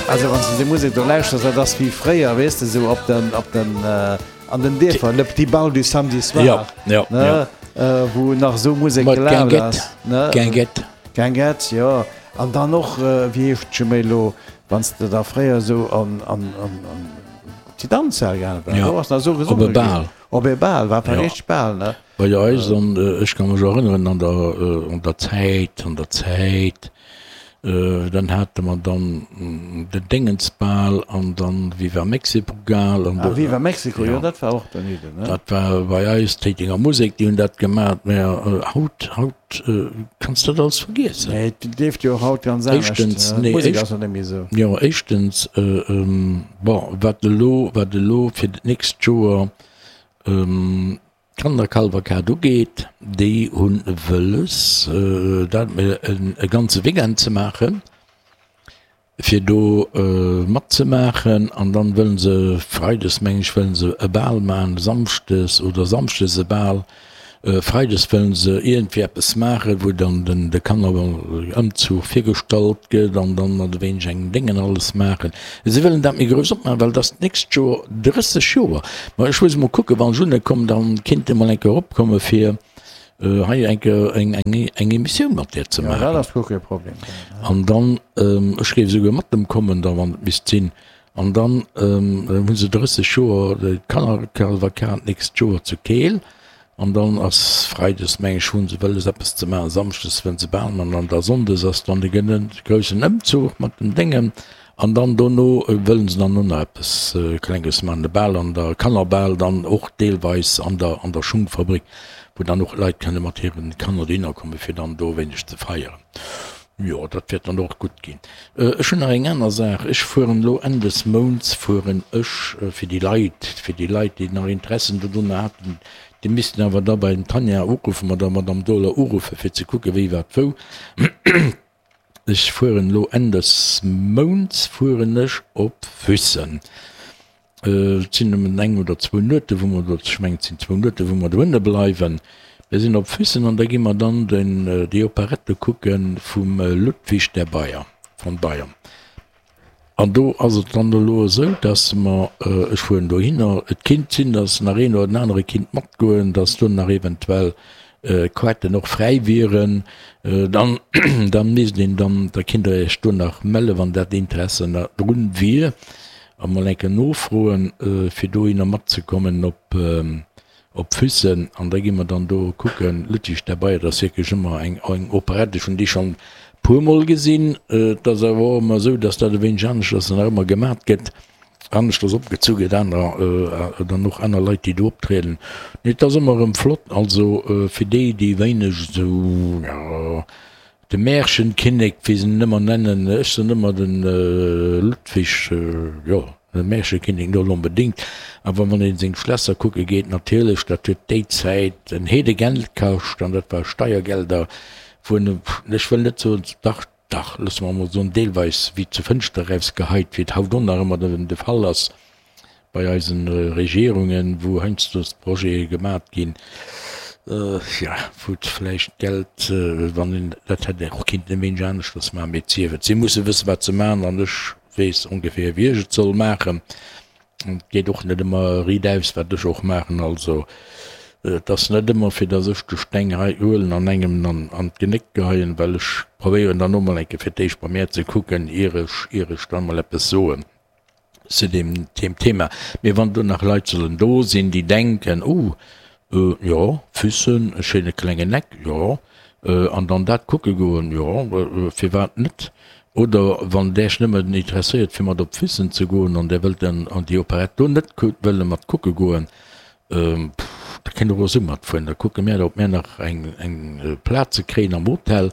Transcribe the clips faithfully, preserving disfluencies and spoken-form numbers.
Also wann s de déi Musek do lauschters, dat ass wéi fréier, weess de, esou op den, op den, an den Dierfer, le petit bal du samedi soir, Ja, ja, ne, ja. wou nach esou Musek Mat gelaf Guinguette, ass, ne? Guinguette. Guinguette, jo. An dann och, wéi heescht scho méi elo, wann s de da fréier esou an, an, an, an déi Danzhal gaange war, Ja, do ass nach esou op e gesonge ginn. Bal. Op e Bal, war Ja. richteg Bal, ne? Bei eis, an ech ka mech erënneren an der, an der Zäit, an der Zäit, dann hate mer dann den Déngensbal an dann Viva Mexipogal an Ah, Viva Mexico, jo, ja. dat war och daneben, ne? Dat war bei eis d'Téitenger Musek, déi hunn dat gemat. Mä haut, haut kanns de dat alles vergiessen. Nee, et leeft jo och haut ganz anescht. Éischtens, nee, D'Musek éischt, ass jo net méi esou. jo, éischtens, bon, wat elo, wat elo fir d'nächst Joer d'Kannerkavalkad ugeet, déi hu wëlles, dat e ganze Weekend ze maachen, fir do matzemaachen. An dann wëllen se freides, meng ech, wëllen se e Bal maachen, samschdes oder samschdes e Bal, freides wëllen se iergendwéi eppes maachen, wou dann den de Kannerëmzuch virgestallt gëtt an dann mat e wéineg engem Déngen alles maachen. Si wëllen dat méi grouss opmaachen, well et ass d'nächst Joer drësseg Joer. Ma ech muss emol kucken, wann ech unne komm, dann kinnt Dir mol eng Kéier eropkomme fir hei eng Kéier eng eng eng Emissioun mat där ze Jo, dat maachen. ass guer kee Problem. An dann, ech géif esouguer mat em kommen da wann et misst sinn, an dann hu se drësseg Joer d'Kannerkavalkad d'nächst Joer zu Keel. An dann ass freides, meng ech, hu se wëlles eppes ze maachen, samschdes wëllen se Bal maachen an da sonndes ass dann de groussen Ëmzuch mat den Déngen. An dann dono wëllen se dann och nach eppes Klenges maachen, de Bal an der Kannerbal dann och deelweis an der an der Schungfabrik, wou dann och Leit kënne mat hiren Kanner dohinner kommen, fir dann do e wéineg ze feieren. Jo, dat wäert dann och gutt ginn. Ech hunn nach eng aner Saach. Ech fueren elo Enn des Mounts fueren ech fir déi Leit, fir déi Leit, déi nach Interessen dodrunner haten, déi missten awer da bei dem Tanja uruffen, bei der Madame Dohler uruffen, fir ze kucken, wéi, wat, wou. Ech fueren elo Enn des Mounts fueren ech op Füssen. Et sinn nëmmen eng oder zwou Nuete wou mer do, ech mengen et sinn zwou Nuete wou mer dohinne bleiwen. Mir sinn op Füssen an da gi mer dann den, déi Operette kucke vum Ludwig der Bayer, von Bayern. An do ass et dann elo esou, dass mer, ech fueren dohinner, et kinnt sinn, dass nach een oder den anere kinnt matgoen, dass do nach eventuell Quetten och fräi wieren. Dann, da misst een dann, da kinnt Der Iech do nach melle wann dat Interesse drun wier a mol eng Kéier nofroen, fir dohinner matzekommen op op Füssen. An da gi mer dann do kucken, Ludwig der Bayer, dat ass wierklech ëmmer eng eng Operette, ech hunn déi schonn e puermol gesinn. Et ass awer och ëmmer esou, dass dat e wéineg aneschters nach ëmmer gemat gëtt, aneschters opgezu gëtt, aner dann och aner Leit, déi do optrieden. Mee et ass ëmmer erëm flott. Also fir déi, déi wéineg esou, jo, De Märchenkinnek, wéi se en ëmmer nennen, ech soen ëmmer de Ludwig, jo, de Märchenkinnek net onbedéngt, awer wann ee seng Schlässer kucke geet, natierlech, dat huet déi Zäit en Heedegeld kascht an dat war Steiergelder, wou en, ech wëll net soen, dach, dach, loosse mer emol soen, deelweis wéi zur Fënschter erausgeheit, wéi et haut och nach ëmmer de Fall ass. bei eisen Regierungen, wou heiansdo Projete gemat ginn, jo, wou vläicht d'Geld, wann een dat hätt och kinnten e wéineg aneschters maachen, mee et sief et, si musse wëssen, wat se maachen an ech weess ongeféier, wéi ech et soll maachen. An et geet och net ëmmer riitaus, wat ech och maachen. Also et ass net ëmmer, fir datt ech de Steng hei huelen an engem an d'Genéck geheien, well ech probéieren dann och mol eng Kéier fir d'éischt bei mär ze kucken, ier ech, ier ech dann mol eppes soen. Zu deem Thema. Mee wann do nach Leit sollen do sinn, déi denken, Oh, jo, Füssen, e schéine klengen Eck, jo, an dann dat kucke goen, jo, firwat net? Oder wann Däech nëmmen interesséiert, fir mat op Füssen ze goen an Där wëllt dann an déi Operett do net wëlle mat kucke goen, da kënnt Der och esou matfueren. Da kucke mär, ob mär nach eng Plaz kréien am Hotel.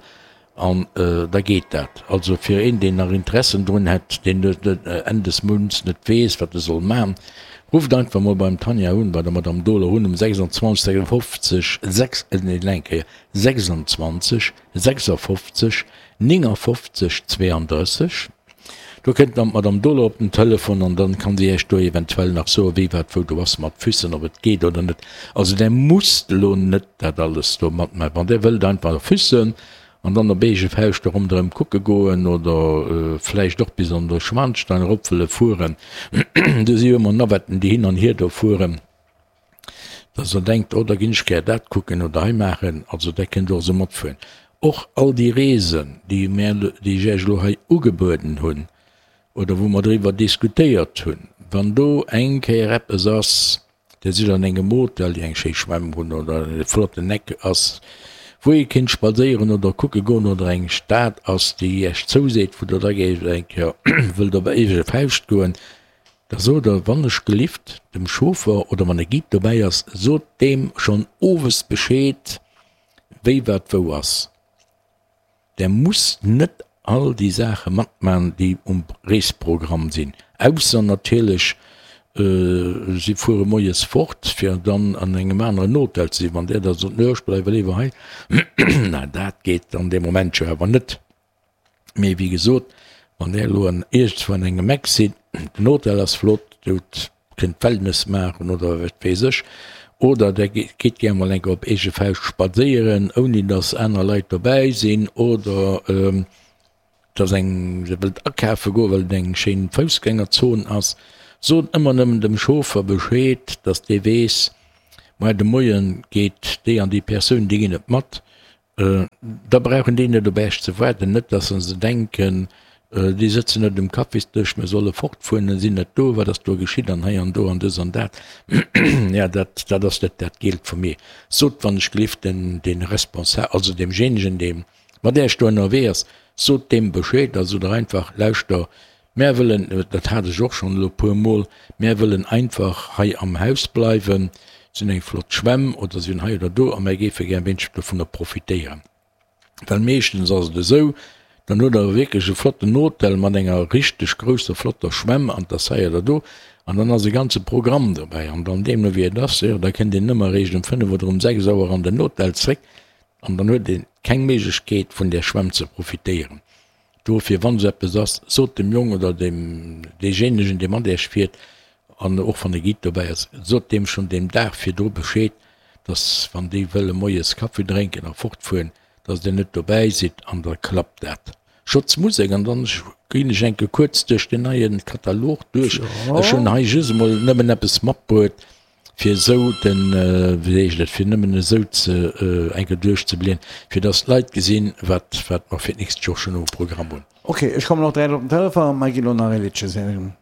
An da geet dat. Also fir een, deen nach Interessen drun hätt, deen Enn des Mounts net weess, wat e soll maachen, rufft einfach mol beim Tanja un, bei der Madame Dohler un um sechsundzwanzeg sechsundfofzeg sechs, nee, nach eng Kéier, sechsundzwanzeg sechsundfofzeg néngundfofzeg zweeëndrësseg. Do kënnt dann d'Madame Dohler op den Telefon an dann kann si Iech do eventuell nach soen, wéi wat wou do ass mat Füssen, ob et geet oder net. Also där musst elo net dat alles do matmaachen. Wann där wëllt einfach Füssen, an dann op eege Fauscht do ronderëm kucke goen oder vläicht och bis an de Schwanstein erop wëlle fueren. Do si jo ëmmer Navetten, déi hin an hier do fueren, dass Der denkt, oh da ginn ech gär dat kucken oder hei maachen. Also där kënnt och esou matfueren. Och all déi Reesen, déi mär, déi ech Iech elo hei ugebueden hunn oder wou mer driwwer diskutéiert hunn, wann do eng Kéier eppes ass, Dir sidd an engem Hotel, déi eng schéi Schwämm hunn oder e flotten Eck ass, wou ee kéint spadséieren oder kucke goen oder eng Stad ass, déi Iech zouseet, wou Der da géift eng Kéier wëllt op eege Fauscht goen, da sot Der, wann ech gelift, dem Chauffer oder wann e Guide dobäi ass, sot deem schonn owes Bescheed, wéi wat wou ass. Der musst net all déi Saache matman, déi um Reesprogramm sinn, ausser natierlech si fuere moies fort, fir dann an engem aneren Hotel ze sinn. Wann där da sot, Nö, ech bleiwe léiwer hei, na dat geet dann dee Moment jo awer net. Mee wéi gesot, wann där elo an iergendzwou an engem Eck sidd, den Hotel ass flott, Dir hutt kënnt Wellness maachen oder wat weess ech, oder der gitt gär mol eng Kéier op eege Fauscht spadséieren, ouni datt aner Leit dobäi sinn, oder dass eng der wëllt akafe goen, well et eng schéin Foussgängerzon ass, sot ëmmer nëmmen dem Chauffer Bescheed, datt dee weess, Moar de Moie geet déi an déi Persoun, déi ginn net mat. Da brauchen déi net op Äech ze waarden, net dass se denken, déi sëtzen net um Kaffisdësch, mir solle fortfueren, sinn net do, wat ass do geschitt an hei an do an dës an dat. Jo, dat, dat ass net dat Gielt vum Ee. Sot wann ech gelift den, dee Responsa-, also deemjéinegen, dee mat Äech do ënnerwee ass, sot deem Bescheed a sot der einfach, Lauschter, mär wëllen, dat hat ech och schonn elo e puermol, mär wëllen einfach hei am Haus bleiwen, Si hunn eng flott Schwämm oder si hunn hei oder do a mär géife gär e wéineg dovunner profitéieren. Well meeschtens ass et esou, dann hutt Der wierklech e flotten Hotel mat enger richteg grousser flotter Schwämm an 't ass hei oder do an dann ass e ganze Programm dobäi an dann deemno wéi et ass, jo da kënnt een nëmme eréischt um fënnef oder um sechs Auer an den Hotel zréck an dann huet ee keng Méiglechkeet vun där Schwämm ze profitéieren. Dofir, wann esou eppes ass, sot dem Jong oder dem deejéinegen, dee mat Iech fiert, an och wann e Guide dobäi ass, sot deem schonn deen Dag virdru Bescheed, dass wann déi wëlle moies Kaffi drénken a fortfueren, dass Dir net dobäi sidd an da klappt dat. Schotz Musek an dann ginn ech enke kuerz duerch den neie Katalog duerch. Ech hunn hei just emol nëmmen eppes matbruet, fir esou den, wéi heescht et, fir nëmmen esou ze enke duerchzeblieden, fir dass d'Leit gesinn, wat wat mer fir d'nächst Joer schonn um Programm hunn. Ok, ech kommen och direkt op den Telefon, mä gi lo nach ee Liddche singen.